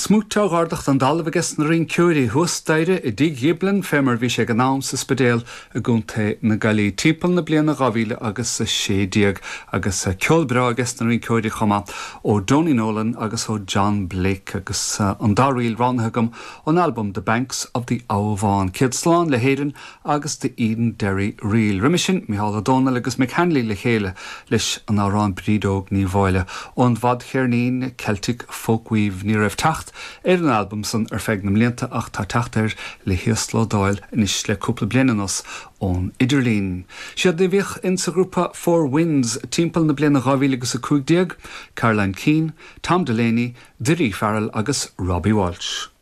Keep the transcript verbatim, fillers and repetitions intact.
Smúit á dh'ardach don dtalamh aige na rinceoirí thuas staighre i dTigh Ghiblin fé mar bhí sé ag an am sa Spidéal i gContae na Gaillimhe timpeall na bliana dhá mhíle agus a sé déag agus ceol breá aige na rinceoirí chomh maith ó Donie Nolan agus ó John Blake agus an dá ríl roghnaithe agam ón album The Banks of the Avon. Céad slán le hÉirinn agus The Edenderry Reel. Roimhe sin Micheál Ó Domhnaill agus Mick Hanley le chéile leis an amhrán Bríd Óg Ní Mháille ón bhfadcheirnín Celtic Folkweave ní raibh teacht ar an album san ar feadh na mblianta ach tá teacht air le híoslódáil anois le cúpla bliain anuas ón idirlíon. Siad a bhíodh in sa ghrúpa Four Winds timpeall na bliana dhá mhíle agus a cúig déag, Caroline Keane, Tom Delaney, Daoirí Farrell agus Robbie Walsh.